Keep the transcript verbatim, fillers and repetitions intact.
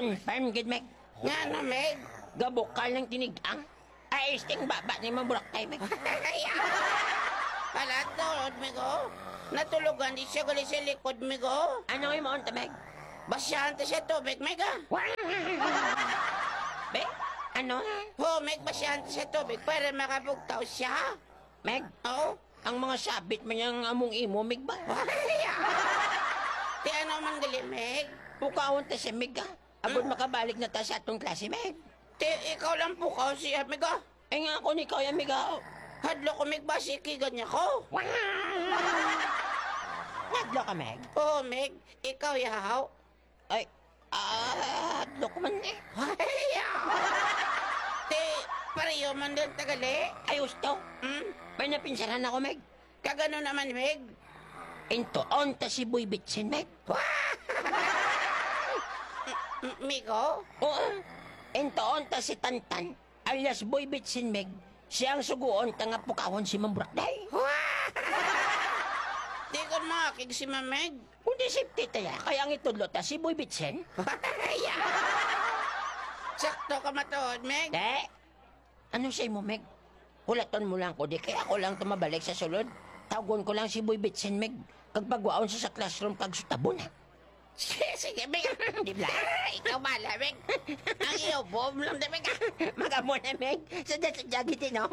Confirm gid, Meg. Ngano, Meg? Gabukal ng tinigang. Ay, isting baba ni Ma'am Burak tayo, Meg. Hala, tuod, Meg, oh. Natulogan di siya gali sa likod, Meg, oh. Ano yung maon ta, Meg? Basihan ta siya tubig, Meg, ah. Be? Ano? Ho, Meg, basihan ta siya tubig para makabugtaw siya. Meg? Oo. Ang mga sabit man yang among imo, Meg ba? Ti ano man gali, Meg? Pukaon ta si Meg, ah. Agod Hmm? makabalik na ta sa atong klase, Meg. Ti ikaw lang pukaw siya, Meg, ah. Ay nga ako ni Kuya, Meg, ah. Hadlok ko, Meg, ba si Kigan niya ko? Hadlok ka, Meg? Oo, Meg. Ikaw, yahaw. Ay, ah, hadlok man eh. Ti, pareho man din tagali. Ay, gusto. Hmm? May napinsaran ako, Meg. Kagano naman, Meg? Intuon ta si Boy Bitsin, Meg. M- Migo? Oo. Intuon ta si Tantan, alias Boy Bitsin, Meg. Siya ang suguon ta nga pukawon si Ma'am Burak, day. Di ko makig si Ma'am Meg. Kundi safety ta ya, kaya ang itudlo ta si Boy Bitsin. Sakto ka matuod, Meg. Te, ano sa imo, Meg? Hulaton mo lang ko, di kay ako lang tumabalik sa sulod. Tawgon ko lang si Boy Bitsin, Meg. Kag pagwaon sa, sa classroom, kag sutabon, ha? Sige, sige, Meg. Di ba? Ikaw bala, Meg. Ang iyo, boom lang, di, Meg. Mag-amo na, Meg. Sa dati, jagiti, no?